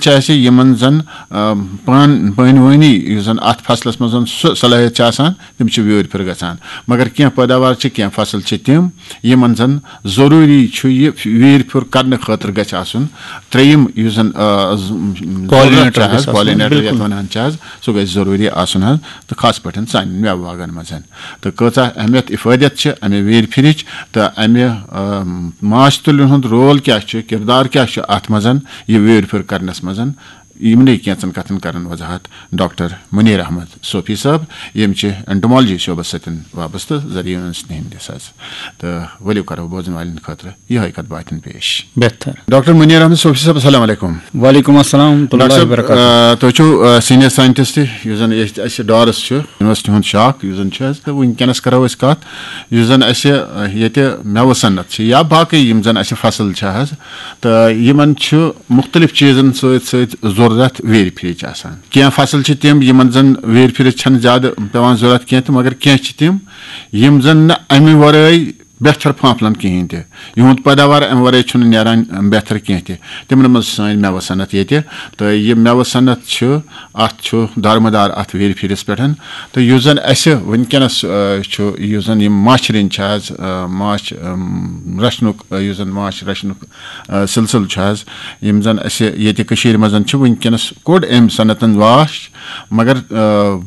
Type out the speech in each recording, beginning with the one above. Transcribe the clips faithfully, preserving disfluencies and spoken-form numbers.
چھِ اَسہِ یِمَن زَن، آ، پان-، پانہٕ ؤنی یُس زَن اَتھ فصلَس منٛز زَن سُہ صلٲحیت چھِ آسان، تِم چھِ ویوٗرۍ پھِرِ گژھان۔ مگر کینٛہہ پٲداوار چھِ، کینٛہہ فصل چھِ تِم، یِمَن زَن ضروٗری چھُ یہِ ویٖرۍ پھیُر کَرنہٕ خٲطرٕ گژھِ آسُن ترٛیٚیِم یُس زَن، آ، ز-، ضروٗرت چھِ حظ، گژھِ آسُن، پالِنیٹر یَتھ بِلکُل۔ وَنان چھِ حظ، سُہ گژھِ ضروٗری آسُن حظ، تہٕ خاص پٲٹھۍ سانٮ۪ن مٮ۪وٕ باغَن منٛز۔ تہٕ کۭژاہ اہمیت افٲدیت چھِ اَمہِ ویٖرۍ پھِرِچ تہٕ اَمہِ، آ، ماچھ تُلہِ ہُنٛد رول کیٛاہ چھُ، کِردار کیٛاہ چھُ اَتھ منٛز، یہِ ویٖرۍ پھیُر کَرنَس منٛز، یِمنٕے کینٛژَن کَتھَن کَرَن وضاحت ڈاکٹر منیر احمد صوفی صٲب، یِم چھِ entomology شعبَس سۭتۍ وابستہٕ ذٔریعہٕ یونس نہنٛدِس حظ۔ تہٕ ؤلِو کَرو بوزَن والٮ۪ن خٲطرٕ یِہوٚے کَتھ باتھٮ۪ن پیش۔ بہتر۔ ڈاکٹر منیر احمد صوفی صٲب، السلام علیکم۔ وعلیکم السلام ورحمۃ اللہ ڈاکٹر صٲب، وبرکاتہ۔ آ، تُہۍ چھِو، آ، senior scientist، یُس زَن ییٚتہِ اَسہِ ڈارَس چھُ، یونیورسٹی ہُنٛد شاکھ یُس زَن چھُ حظ، تہٕ وٕنکیٚنَس کَرو أسۍ کَتھ یُس زَن اَسہِ، آ، ییٚتہِ مٮ۪وٕ صنعت چھِ یا باقٕے یِم زَن اَسہِ فصل چھِ حظ، تہٕ یِمَن چھُ مُختٔلِف چیٖزَن سۭتۍ سۭتۍ ضروٗرت ویٖرۍ پھِرِچ آسان۔ کینٛہہ فصل چھِ تِم، یِمَن زَن ویٖرۍ پھِرِچ چھَنہٕ زیادٕ پٮ۪وان ضروٗرت کینٛہہ تہٕ مگر کینٛہہ چھِ تِم، یِم زَن نہٕ اَمہِ وَرٲے بہتر پھانٛپھلَن کِہیٖنۍ تہِ۔ یِہُنٛد پٲداوار اَمہِ وَرٲے چھُنہٕ نیران بہتر کینٛہہ تہِ۔ تِمَن منٛز چھِ سٲنۍ مٮ۪وٕ صنعت ییٚتہِ۔ تہٕ یہِ مٮ۪وٕ صنعت چھُ، اَتھ چھُ دارمدار اَتھ ویٖرۍ پھِرِس پٮ۪ٹھ۔ تہٕ یُس زَن اَسہِ وٕنکیٚنَس، آ، چھُ، یُس زَن یِم ماچھِ رٔنۍ چھِ حظ، آ، ماچھ، آم، رَچھنُک، آ، یُس زَن ماچھ رَچھنُک، آ، سِلسِلہٕ چھُ حظ، یِم زَن اَسہِ ییٚتہِ کٔشیٖرِ منٛز چھِ وٕنکیٚنَس کوٚڑ أمۍ صنعتَن واش، مگر، آ،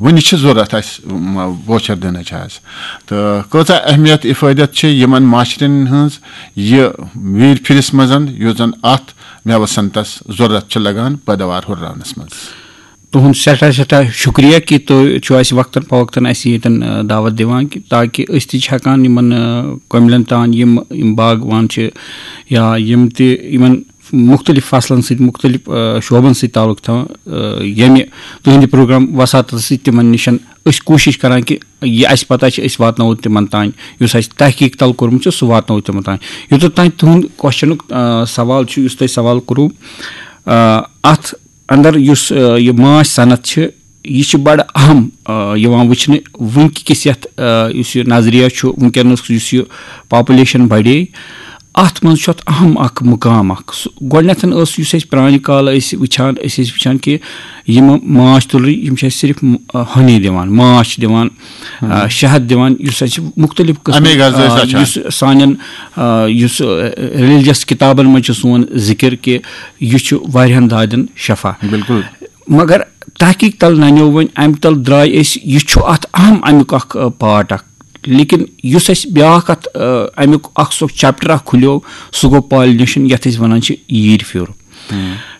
وُنہِ چھِ ضوٚرَتھ اَسہِ، م-، بوچھَر دِنٕچ حظ۔ تہٕ کۭژاہ اہمیت افٲدیت چھِ یِمَن ماچھِ رٔنۍ ہٕنٛز یہِ ویٖرۍ پھِرِس منٛز، یُس زَن اَتھ مٮ۪وٕ صنعتَس ضوٚرَتھ چھِ لَگان پٲداوار ہُرراونَس منٛز؟ تُہُنٛد سٮ۪ٹھاہ سٮ۪ٹھاہ شُکریہ کہِ تُہۍ چھِو اَسہِ وقتاً فوقتاً اَسہِ ییٚتٮ۪ن، آ، دعوت دِوان کہِ تاکہِ أسۍ تہِ چھِ ہٮ۪کان یِمَن، آ، کۄملَن تام یِم، یِم باغوان چھِ یا یِم تہِ یِمَن مُختٔلِف فصلَن سۭتۍ، مُختٔلِف، آ، شعبَن سۭتۍ تعلق تھاوان، آ، ییٚمہِ تُہٕنٛدِ پروگرام وساطتہٕ سۭتۍ تِمَن نِش أسۍ کوٗشِش کران کہِ یہِ اَسہِ پَتہ چھِ، أسۍ واتناوو تِمَن تام، یُس اَسہِ تحقیٖق تَل کوٚرمُت چھُ، سُہ واتناوو تِمَن تام۔ یوٚتَتھ تام تُہُنٛد کوسچنُک، آ، سوال چھُ، یُس تۄہہِ سوال کوٚروٕ، آ، اَتھ اَندَر یُس، آ، یہِ ماچھ صنعت چھِ، یہِ چھِ بَڑٕ اہم، آ، یِوان وٕچھنہٕ وٕنکہِ کِس یَتھ، آ، یُس یہِ نظریہ چھُ وٕنکیٚنَس، یُس یہِ پاپولیشن بڑے، اَتھ منٛز چھُ اَتھ اہم اکھ مُقام اکھ۔ سُہ گۄڈٕنیتھ ٲس، یُس اَسہِ پرانہِ کالہٕ ٲسۍ وٕچھان، أسۍ ٲسۍ وٕچھان کہِ یِم ماچھ تُلرِ، یِم چھِ اَسہِ صرف، آ، ہنی دِوان، ماچھ دِوان، آ، شہد دِوان، یُس اَسہِ مُختٔلِف قٕسمٕچ، اَمے غذا ٲسۍ آ، رچھان۔ یُس سانٮ۪ن، آ، یُس، آ، ریلیجس کِتابن منٛز چھُ سون ذِکِر کہِ یہِ چھُ واریاہن دادٮ۪ن شفا۔ بِلکُل۔ مگر تحقیٖق تل ننیو وۄنۍ، اَمہِ تل درٛاے أسۍ، یہِ چھُ اَتھ اہم اَمیُک اکھ، آ، پارٹ اکھ۔ لیکن یُس اَسہِ بیٛاکھ اَتھ، آ، اَمیُک اکھ سُہ چیپٹر اکھ کھُلیو، سُہ گوٚو پالِنیشن، یَتھ أسۍ وَنان چھِ ییٖرۍ پھیُر۔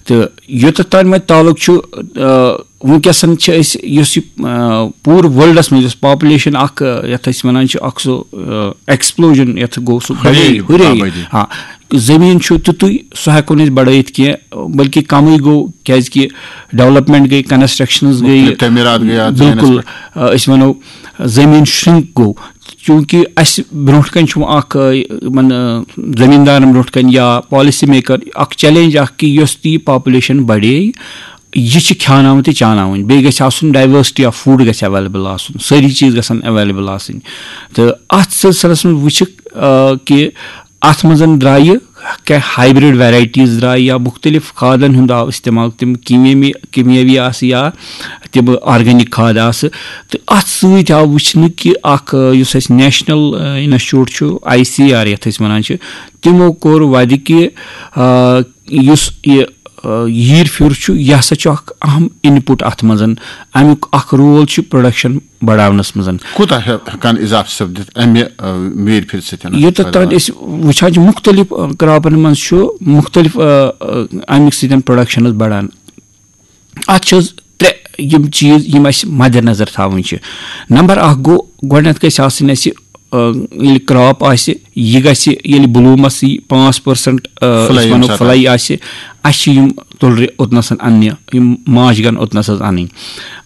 تہٕ یوٚتَتھ تام وۄنۍ تعلق چھُ، آ، وٕنکیٚسَن چھِ أسۍ، یُس یہِ، آ، پوٗرٕ ورلڈَس منٛز یۄس پاپولیشن اکھ، آ، یَتھ أسۍ وَنان چھِ اکھ سُہ، آ، ایکسپلوجن، یَتھ گوٚو سُہ ہُرے، بڑے، ہُرے۔ آبٲدی۔ آ، زٔمیٖن چھُ تیُتُے، سُہ ہٮ۪کو نہٕ أسۍ بڑٲیِتھ کینٛہہ، بلکہِ کمٕے گوٚو، کیازِ کہِ ڈیولپمنٹ گٔے، کنسٹرکشنز گٔے۔ مُختٔلِف تعمیٖرات گٔے اَتھ زٔمیٖنَس بِلکُل۔ پٮ۪ٹھ۔ آ، أسۍ وَنو، زٔمیٖن شرنک گوٚو، چوٗنٛکہِ اَسہِ برونٛٹھ کَنہِ چھُ اَکھ، آ، یِمَن، آ، زٔمیٖندارَن برونٛٹھ کَنہِ یا پالیسی میکر اَکھ چیلنج اَکھ کہِ یۄس تہِ یہِ پاپولیشن بَڑے، یہِ چھِ کھیٛاناوٕنۍ تہٕ چاوناوٕنۍ، بیٚیہِ گژھِ آسُن ڈائیورسٹی آف فوڈ گژھِ ایویلیبل آسُن، سٲری چیٖز گژھن ایویلیبل آسٕنۍ۔ تہٕ اَتھ سلسلس منٛز وٕچھِکھ، آ، کہِ اَتھ منٛز درٛایہِ کینٛہہ ہائیبرڈ ویرائٹیز درٛایہِ یا مُختٔلِف کھادن ہُنٛد آو استعمال، تِم کیٖمیٲمی، کیٖمیٲوی آسہٕ یا تِم آرگینک کھاد آسہٕ۔ تہٕ اَتھ سۭتۍ آو وٕچھنہٕ کہِ اَکھ، آ، یُس اَسہِ نیشنل، آ، انسٹیٹیوٹ چھُ، آئی سی آر یَتھ أسۍ وَنان چھِ، تِمو کوٚر وَدِ کہِ، آ، یُس یہِ، آ، ییٖرۍ پھیُر چھُ، یہِ ہسا چھُ اَکھ اہم انپُٹ اَتھ منٛز۔ اَمیُک اَکھ رول چھُ پروڈکشن بڑاونس منٛز۔ کوٗتاہ ہیٚکان اضافہٕ سپدِتھ امہِ، آ، ویٖرۍ پھِرِ سۭتۍ؟ یوٚتتھ تام أسۍ وٕچھان چھِ، مُختٔلِف، آ، کراپن منٛز چھُ مُختٔلِف، آ، آ، اَمہِ سۭتۍ پروڈکشنز بڑان۔ اَتھ چھِ حظ ترٛےٚ یِم چیٖز یِم اَسہِ مدِ نظر تھاوٕنۍ چھِ۔ نمبر اکھ گوٚو، گۄڈٕنیتھ گژھِ آسٕنۍ اَسہِ، آ، ییٚلہِ کراپ آسہِ، یہِ گژھِ ییٚلہِ بلوٗمس یی پانٛژھ پرسنٹ، آ، فلاے أسۍ ییٚمہِ وَنو ساتہٕ فلاے آسہِ۔ آسہِ، اَسہِ چھِ یِم تُلرِ اوٚتنَسَن اَننہِ، یِم ماچھ گَن اوٚتنَس حظ اَنٕنۍ۔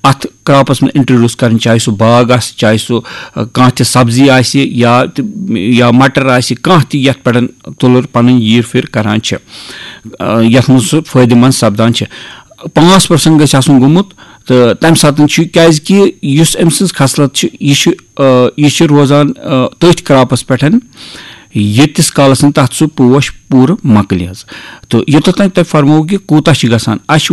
اَتھ کراپس منٛز انٹروڈیوس کرٕنۍ، چاہے سُہ باغ آسہِ، چاہے سُہ، آ، کانٛہہ تہِ سبزی آسہِ یا تہِ، یا مٹر آسہِ، کانٛہہ تہِ یَتھ پٮ۪ٹھ تُلر پنٕنۍ ییٖر پھِر کران چھِ، آ، یَتھ منٛز سُہ فٲیدٕ مند سپدان چھِ۔ پانٛژھ پرسنٹ گژھِ آسُن گوٚمُت، تہٕ تَمہِ ساتہٕ چھُ، کیازِ کہِ یُس أمۍ سٕنٛز خصلت چھِ، یہِ چھُ، آ، یہِ چھُ روزان، آ، تٔتھۍ کراپس پٮ۪ٹھ، ییٖتِس کالس نہٕ تَتھ سُہ پوش پوٗرٕ مۄکلہِ حظ۔ تہٕ یوٚتتھ تام تۄہہِ فرموو کہِ کوٗتاہ چھُ گژھان، اَسہِ چھُ